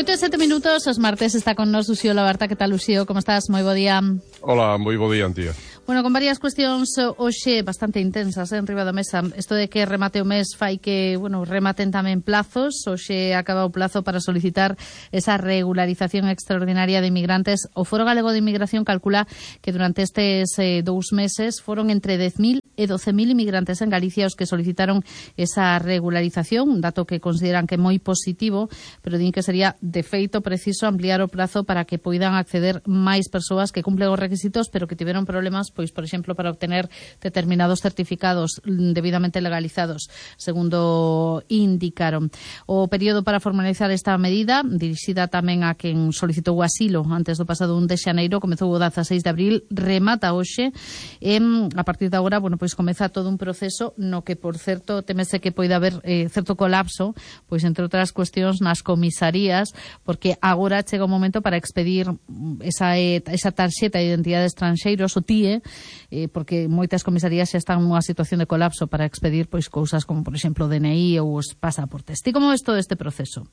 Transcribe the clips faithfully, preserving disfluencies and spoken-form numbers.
Oito e sete minutos, os martes está con nos Uxío Labarta. Que tal, Uxío? Como estás? Moi bo día. Hola, moi bo día, Antía. Bueno, con varias cuestións hoxe bastante intensas, eh, en riba da mesa. Isto de que remate o mes fai que, bueno, rematen tamén plazos. Hoxe acaba o plazo para solicitar esa regularización extraordinaria de inmigrantes. O Foro Galego de Inmigración calcula que durante estes eh, dous meses foron entre dez mil e doce mil inmigrantes en Galicia os que solicitaron esa regularización, un dato que consideran que é moi positivo, pero din que sería de feito preciso ampliar o plazo para que poidan acceder máis persoas que cumplen os requisitos, pero que tiveron problemas, pois, por exemplo, para obtener determinados certificados debidamente legalizados, segundo indicaron. O período para formalizar esta medida, dirixida tamén a quen solicitou o asilo antes do pasado un de xaneiro, comezou o dezaseis de abril, remata hoxe, e a partir de agora, bueno, pois comeza todo un proceso no que, por certo, temese que poida haber eh, certo colapso, pois, entre outras cuestións, nas comisarías, porque agora chega o momento para expedir esa, esa tarxeta de identidade de estranxeiros, o T I E, eh, porque moitas comisarías xa están nunha situación de colapso para expedir pois cousas como, por exemplo, o D N I ou os pasaportes. Ti como ves todo este proceso?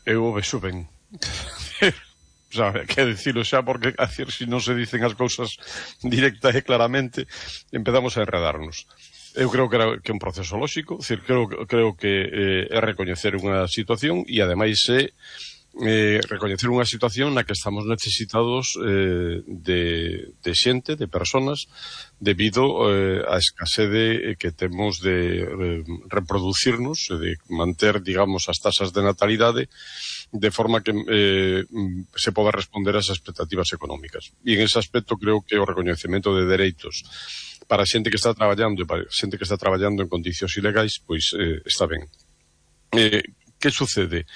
Eu o vexo ben. O sea, que decirlo xa, porque a decir, se non se dicen as cousas directa e claramente, empezamos a enredarnos. Eu creo que, era, que é un proceso lóxico, decir, creo, creo que eh, é recoñecer unha situación e, ademais, é eh, recoñecer unha situación na que estamos necesitados eh, de, de xente, de personas, debido eh, á escasede que temos de eh, reproducirnos, de manter, digamos, as tasas de natalidade de forma que eh, se poda responder ás expectativas económicas. E en ese aspecto creo que o recoñecemento de dereitos para xente que está traballando e para xente que está traballando en condicións ilegais, pois eh, está ben. Eh, que sucede?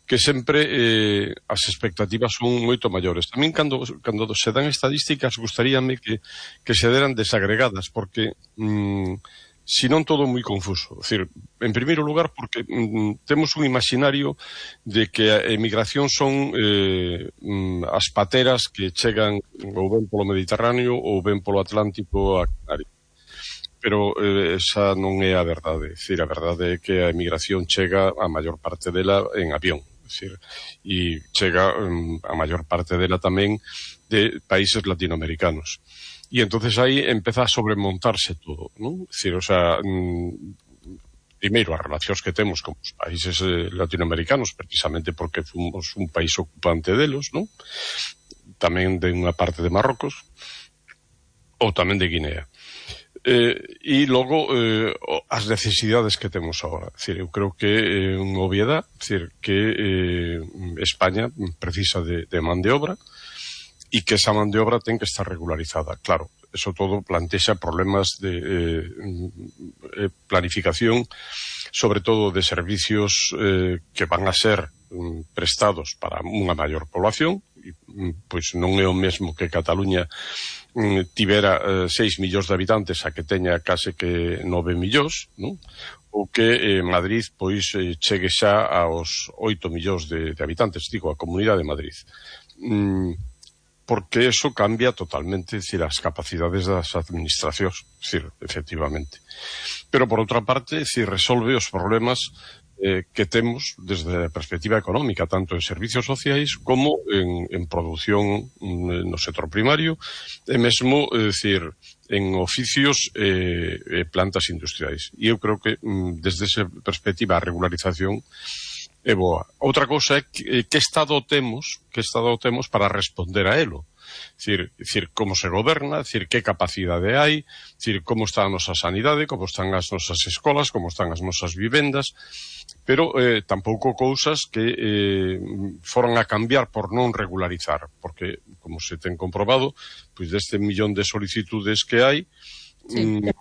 Que sempre eh, as expectativas son moito maiores. Tamén cando, cando se dan estadísticas gustaríame que, que se deran desagregadas, porque mm, si non todo moi confuso. É dicir, en primeiro lugar, porque mm, temos un imaginario de que a emigración son eh, mm, as pateras que chegan ou ben polo Mediterráneo ou ben polo Atlántico a Canarias. Pero eh, esa non é a verdade. É dicir, a verdade é que a emigración chega a maior parte dela en avión. É dicir, e chega um, a maior parte dela tamén de países latinoamericanos. E entonces aí empeza a sobremontarse todo, non? É dicir, o sea, mm, primeiro, as relacións que temos con os países eh, latinoamericanos, precisamente porque fomos un país ocupante delos, non? Tamén de unha parte de Marrocos, ou tamén de Guinea. Eh, e logo eh, as necesidades que temos agora. É dicir, eu creo que é eh, unha obviedade, é dicir, que eh, España precisa de, de man de obra e que esa man de obra ten que estar regularizada. Claro, eso todo plantexa problemas de eh, eh, planificación, sobre todo de servicios eh, que van a ser um, prestados para unha maior población, e, pois non é o mesmo que Cataluña um, tivera eh, seis millóns de habitantes a que teña case que nove millóns, non? Ou que eh, Madrid pois eh, chegue xa aos oito millóns de, de habitantes, digo, a Comunidade de Madrid. Mm, porque eso cambia totalmente, é dicir, as capacidades das administracións, é dicir, efectivamente. Pero, por outra parte, é dicir, resolve os problemas eh, que temos desde a perspectiva económica, tanto en servicios sociais como en, en produción no sector primario, e mesmo, é dicir, en oficios e eh, plantas industriais. E eu creo que, desde esa perspectiva, a regularización é boa. Outra cousa é que, que estado temos, que estado temos para responder a elo. Dicir, dicir, como se goberna, dicir, que capacidade hai, dicir, como está a nosa sanidade, como están as nosas escolas, como están as nosas vivendas, pero eh, tampouco cousas que eh, foran a cambiar por non regularizar, porque, como se ten comprobado, pois deste millón de solicitudes que hai, sí. mm,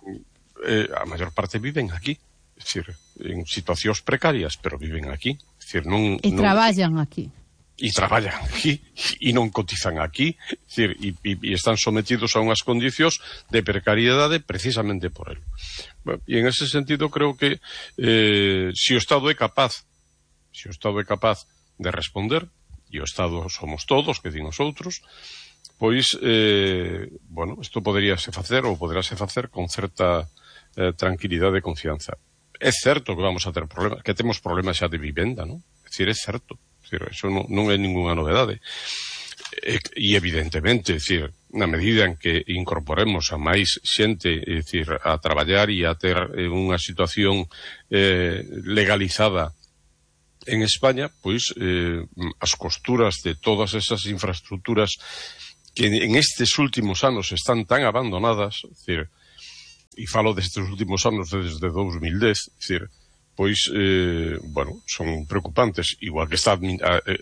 eh, a maior parte viven aquí. É dicir, en situacións precarias, pero viven aquí. É dicir, non, e non, traballan aquí. E traballan aquí, e non cotizan aquí. É dicir, e, e, e están sometidos a unhas condicións de precariedade precisamente por el. Bueno, e en ese sentido creo que eh, se o Estado é capaz, se o Estado é capaz de responder, e o Estado somos todos, que din os outros, pois, eh, bueno, isto poderíase facer, ou poderáse facer con certa eh, tranquilidade e confianza. É certo que vamos a ter problemas, que temos problemas xa de vivenda, non? É dicir, é certo. É Decir, eso non, non é ninguna novedade. E, e evidentemente, decir, na medida en que incorporemos a máis xente, é dicir, a traballar e a ter unha situación eh, legalizada en España, pois eh, as costuras de todas esas infraestructuras que en estes últimos anos están tan abandonadas, é dicir, e falo destes últimos anos desde dos mil dez, é dicir, pois, eh, bueno, son preocupantes, igual que está,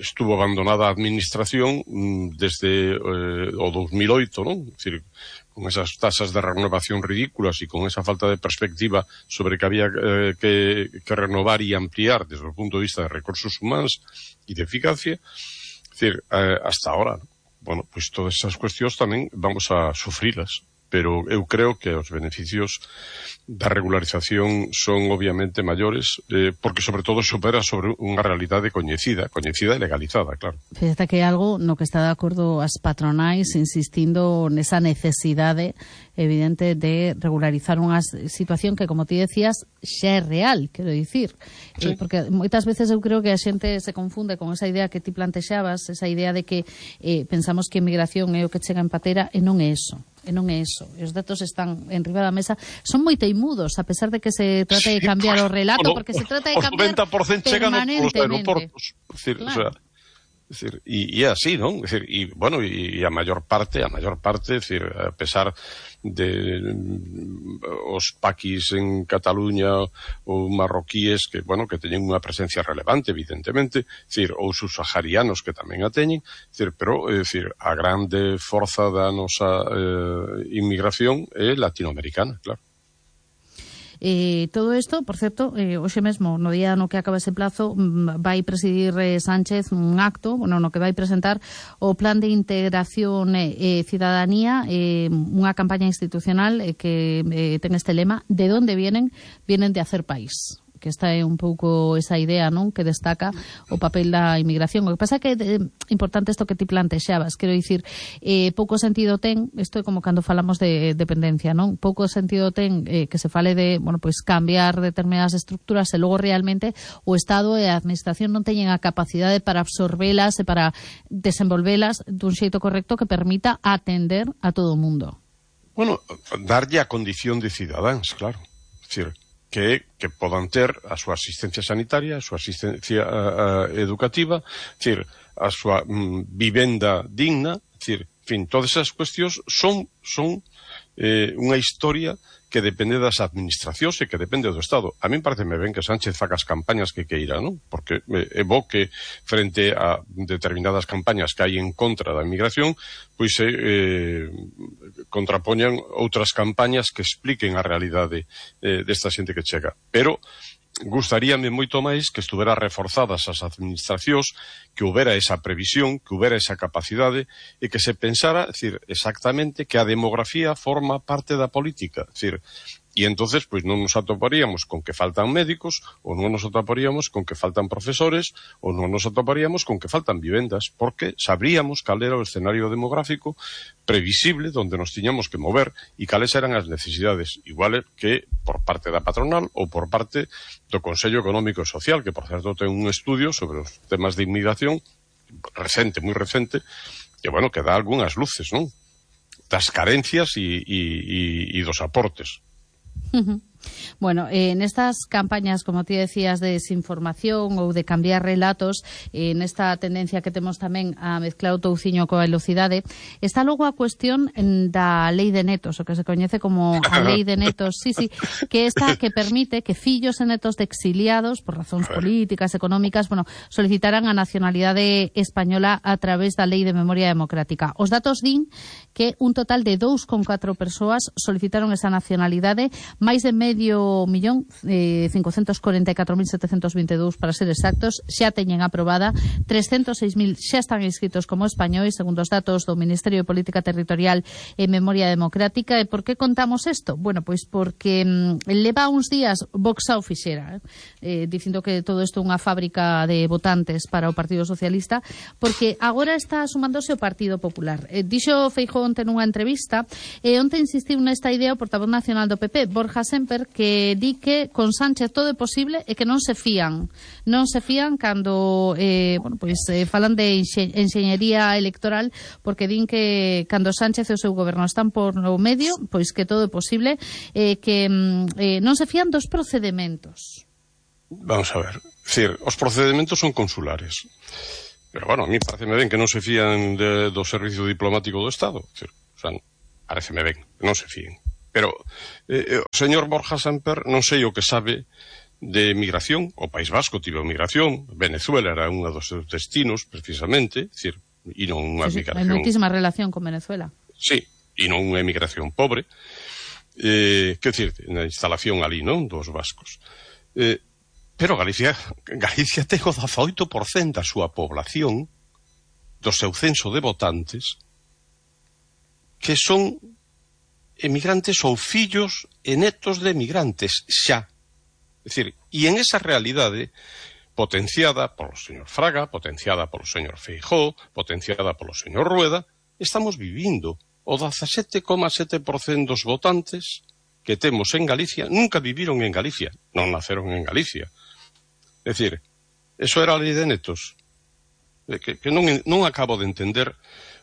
estuvo abandonada a administración desde eh, o dos mil oito, non? É dicir, con esas tasas de renovación ridículas e con esa falta de perspectiva sobre que había eh, que, que renovar e ampliar desde o punto de vista de recursos humanos e de eficacia, é dicir, eh, hasta ahora, ¿no? Bueno, pois todas esas cuestións tamén vamos a sufrilas. Pero eu creo que os beneficios da regularización son obviamente maiores, eh, porque sobre todo supera sobre unha realidade coñecida, coñecida e legalizada, claro. Fíjate que é algo no que está de acordo as patronais insistindo nesa necesidade evidente de regularizar unha situación que, como ti decías, xa é real, quero dicir. Sí. Eh, porque moitas veces eu creo que a xente se confunde con esa idea que ti plantexabas, esa idea de que eh, pensamos que a inmigración é o que chega en patera, e non é eso. E non é iso. Os datos están en riba da mesa. Son moi teimudos, a pesar de que se trate de cambiar sí, o relato, porque se trata de cambiar noventa por ciento permanentemente. Chegan os aeroportos. Decir, claro. O sea, decir, e é así, non? Decir, e, bueno, e a maior parte, a maior parte, decir, a pesar de mm, os paquis en Cataluña ou marroquíes que, bueno, que teñen unha presencia relevante, evidentemente, decir, ou subsaharianos que tamén a teñen, decir, pero, é dicir, a grande forza da nosa eh, inmigración é latinoamericana, claro. Eh, todo isto, por certo, eh, hoxe mesmo, no día no que acaba ese plazo, vai presidir eh, Sánchez un acto, bueno, no que vai presentar o Plan de Integración e eh, Cidadanía, eh, unha campaña institucional eh, que eh, ten este lema: de onde vienen? Vienen de hacer país. Que esta é un pouco esa idea, non, que destaca o papel da inmigración. O que pasa é que é importante isto que ti plantexabas, quero dicir, eh, pouco sentido ten, isto é como cando falamos de dependencia, non? Pouco sentido ten eh, que se fale de, bueno, pois cambiar determinadas estructuras e logo realmente o Estado e a Administración non teñen a capacidade para absorbelas e para desenvolvelas dun xeito correcto que permita atender a todo o mundo. Bueno, darlle a condición de cidadáns, claro. É dicir, que, que podan ter a súa asistencia sanitaria, a súa asistencia uh, educativa, decir, a súa mm, vivenda digna, decir, en fin, todas esas cuestións son, son eh, unha historia que depende das administracións e que depende do Estado. A min pareceme ben que Sánchez faga as campañas que queira, non? Porque é bo que frente a determinadas campañas que hai en contra da inmigración, pois se eh, contrapoñan outras campañas que expliquen a realidade eh, desta xente que chega. Pero gustaríame moito máis que estuvera reforzadas as administracións, que houbera esa previsión, que houbera esa capacidade e que se pensara, é dicir, exactamente que a demografía forma parte da política, é dicir, e entonces pois non nos atoparíamos con que faltan médicos, ou non nos atoparíamos con que faltan profesores, ou non nos atoparíamos con que faltan vivendas, porque sabríamos cal era o escenario demográfico previsible donde nos tiñamos que mover e cales eran as necesidades, igual que por parte da patronal ou por parte do Consello Económico e Social, que por certo ten un estudio sobre os temas de inmigración recente, moi recente, que, bueno, que dá algunhas luces, non? Das carencias e, e, e, e dos aportes. Bueno, eh, en estas campañas, como ti decías, de desinformación ou de cambiar relatos, eh, nesta tendencia que temos tamén a mezclar o touciño coa velocidade, está logo a cuestión da lei de netos, o que se coñece como a lei de netos, sí, sí, que esta que permite que fillos e netos de exiliados por razóns políticas, económicas, bueno, solicitaran a nacionalidade española a través da lei de memoria democrática. Os datos din que un total de dous con catro persoas solicitaron esa nacionalidade, máis de medio millón, eh, cincocentos corenta e catro mil setecentos vinte e dous para ser exactos, xa teñen aprobada, trescentos seis mil xa están inscritos como españois, segundo os datos do Ministerio de Política Territorial e Memoria Democrática. E por que contamos isto? Bueno, pois porque mm, leva uns días Vox ao fixera, eh, dicindo que todo isto é unha fábrica de votantes para o Partido Socialista, porque agora está sumándose o Partido Popular. Eh, dixo Feijóo onte nunha entrevista, e onte insistiu nesta idea o portavoz nacional do P P, Borja Sémper, Samper, que di que con Sánchez todo é posible e que non se fían. Non se fían cando eh, bueno, pois, eh, falan de enxe enxeñería electoral, porque din que cando Sánchez e o seu goberno están por no medio, pois que todo é posible, eh, que eh, non se fían dos procedementos. Vamos a ver, decir, os procedementos son consulares. Pero, bueno, a mí pareceme ben que non se fían de, do servicio diplomático do Estado. Decir, o sea, pareceme ben, non se fíen. Pero eh, o señor Borja Samper non sei o que sabe de migración. O País Vasco tivo migración, Venezuela era un dos seus destinos, precisamente, decir, e non unha sí, sí, migración... hai moitísima relación con Venezuela. Sí, e non unha emigración pobre. Eh, que decir, na instalación ali, non, dos vascos. Eh, Pero Galicia, Galicia ten o dezaoito por cento da súa población, do seu censo de votantes, que son emigrantes ou fillos e netos de emigrantes, xa. É dicir, e en esa realidade, potenciada polo señor Fraga, potenciada polo señor Feijóo, potenciada polo señor Rueda, estamos vivindo. O dezasete coma sete por cento dos votantes que temos en Galicia nunca viviron en Galicia, non naceron en Galicia. É dicir, eso era a lei de netos. Que, que non, non acabo de entender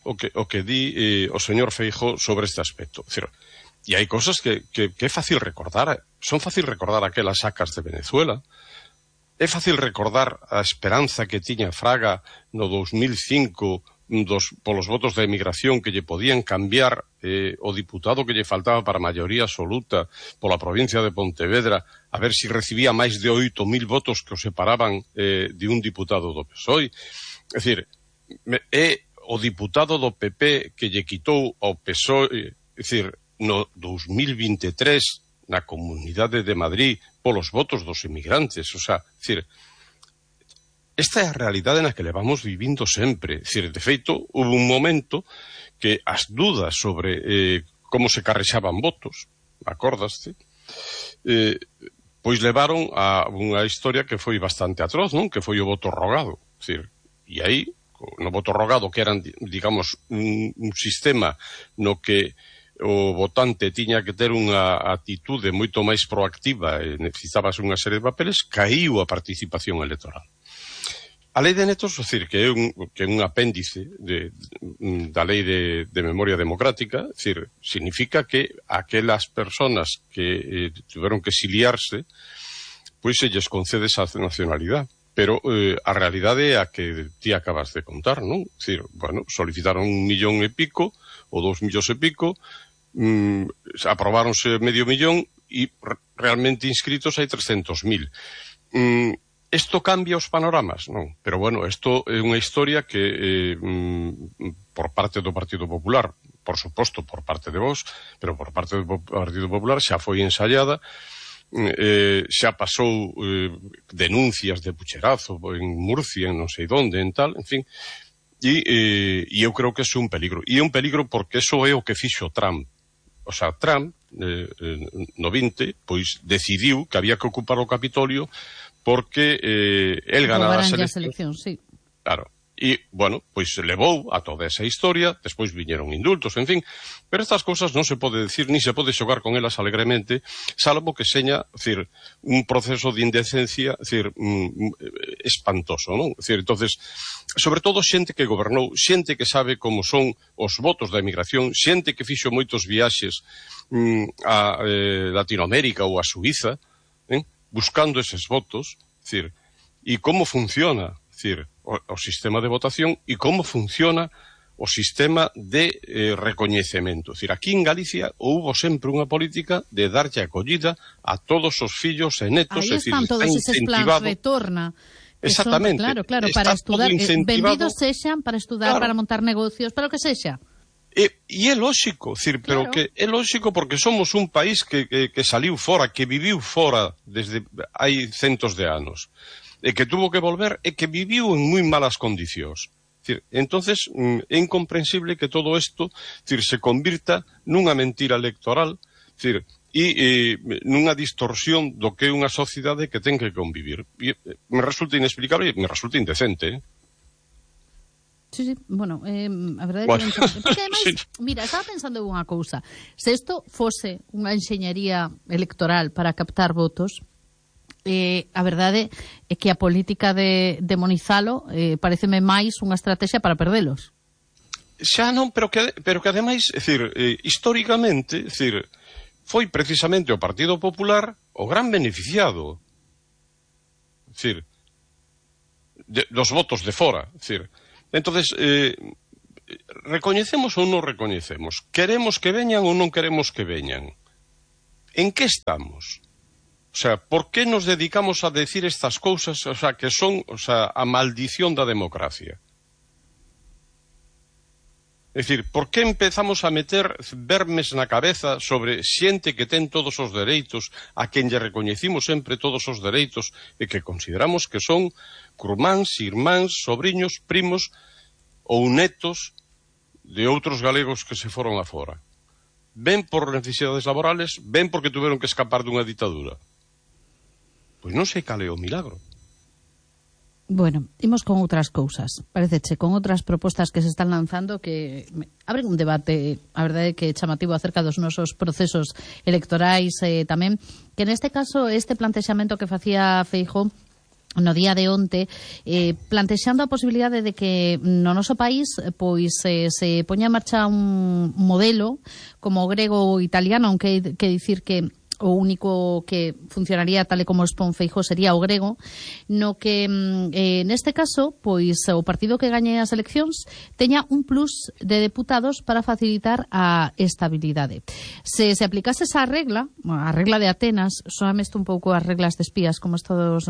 o que, o que di eh, o señor Feijóo sobre este aspecto. É dicir, e hai cosas que, que, que é fácil recordar. Son fácil recordar aquelas sacas de Venezuela. É fácil recordar a esperanza que tiña Fraga no dos mil cinco dos, polos votos da emigración que lle podían cambiar eh, o diputado que lle faltaba para a maioría absoluta pola provincia de Pontevedra, a ver si recibía máis de oito mil votos que o separaban eh, de un diputado do P S O E. É dicir, é o diputado do P P que lle quitou ao P S O E, é dicir, no dos mil vinte e tres na Comunidade de Madrid polos votos dos emigrantes. O sea, é dicir, esta é a realidade na que levamos vivindo sempre. É dicir, de feito, houve un momento que as dudas sobre eh, como se carrexaban votos, acordaste, eh, pois levaron a unha historia que foi bastante atroz, non? Que foi o voto rogado. É dicir, e aí, no voto rogado, que eran, digamos, un, un sistema no que o votante tiña que ter unha atitude moito máis proactiva e necesitabas unha serie de papeles, caíu a participación electoral. A lei de netos, é dicir, que é un, que é un apéndice de, de, da lei de, de memoria democrática, é dicir, significa que aquelas personas que eh, tiveron que exiliarse, pois se lles concede esa nacionalidade. Pero eh, a realidade é a que ti acabas de contar, non? É dicir, bueno, solicitaron un millón e pico, ou dous millóns e pico, mm, aprobáronse medio millón, e realmente inscritos hai trescentos mil. Mm, Isto cambia os panoramas? Non. Pero, bueno, isto é unha historia que, eh, por parte do Partido Popular, por suposto, por parte de vos, pero por parte do Partido Popular xa foi ensaiada, eh, xa pasou eh, denuncias de pucherazo en Murcia, en non sei donde, en tal, en fin, e, eh, e eu creo que é un peligro. E é un peligro porque eso é o que fixo Trump. O sea, Trump, eh, no vinte, pois decidiu que había que ocupar o Capitolio porque eh, el ganara as eleccións. Sí. Claro. E, bueno, pois se levou a toda esa historia, despois viñeron indultos, en fin, pero estas cousas non se pode decir, ni se pode xogar con elas alegremente, salvo que seña, decir, un proceso de indecencia, decir, mm, espantoso, non? Decir, entonces, sobre todo xente que gobernou, xente que sabe como son os votos da emigración, xente que fixo moitos viaxes mm, a eh, Latinoamérica ou a Suiza, eh? buscando eses votos, decir, e como funciona, decir, o, o sistema de votación e como funciona o sistema de eh, recoñecemento. Decir, aquí en Galicia houbo sempre unha política de darlle acollida a todos os fillos e netos. Aí están todos eses plans retorna. Exactamente. Son, claro, claro, para estudar, eh, benvidos sexan para estudar, claro, para montar negocios, para o que sexa. E, e é lóxico, decir, pero claro, que é lóxico porque somos un país que, que, que saliu fora, que viviu fora desde hai centos de anos, e que tuvo que volver e que viviu en moi malas condicións. Decir, entonces é incomprensible que todo isto, decir, se convirta nunha mentira electoral, decir, e, e nunha distorsión do que é unha sociedade que ten que convivir. E me resulta inexplicable e me resulta indecente, eh? Sí, sí, bueno, eh, a verdade bueno. é que non... Porque ademais, sí. mira, estaba pensando en unha cousa. Se isto fose unha enxeñería electoral para captar votos, eh, a verdade é que a política de demonizalo eh, pareceme máis unha estrategia para perdelos. Xa non, pero que, pero que ademais, é dicir, eh, históricamente, é dicir, foi precisamente o Partido Popular o gran beneficiado. É dicir, de, dos votos de fora, é dicir, entonces, eh, recoñecemos ou non recoñecemos? Queremos que veñan ou non queremos que veñan? En que estamos? O sea, por que nos dedicamos a decir estas cousas, o sea, que son, o sea, a maldición da democracia? É dicir, por que empezamos a meter vermes na cabeza sobre xente que ten todos os dereitos, a quen lle recoñecimos sempre todos os dereitos e que consideramos que son curmáns, irmáns, sobriños, primos ou netos de outros galegos que se foron afora? Ven por necesidades laborales, ven porque tuveron que escapar dunha ditadura. Pois non sei cal é o milagro. Bueno, imos con outras cousas. Pareceche, con outras propostas que se están lanzando que abren un debate, a verdade é que chamativo acerca dos nosos procesos electorais eh, tamén, que neste caso este plantexamento que facía Feijóo no día de onte, eh, plantexando a posibilidade de que no noso país pois eh, se poña en marcha un modelo como o grego ou italiano, aunque que dicir que o único que funcionaría tal e como expón Feijóo sería o grego, no que eh, neste caso, pois o partido que gañe as eleccións teña un plus de deputados para facilitar a estabilidade. Se se aplicase esa regla, a regla de Atenas, soame isto un pouco as reglas de espías, como estos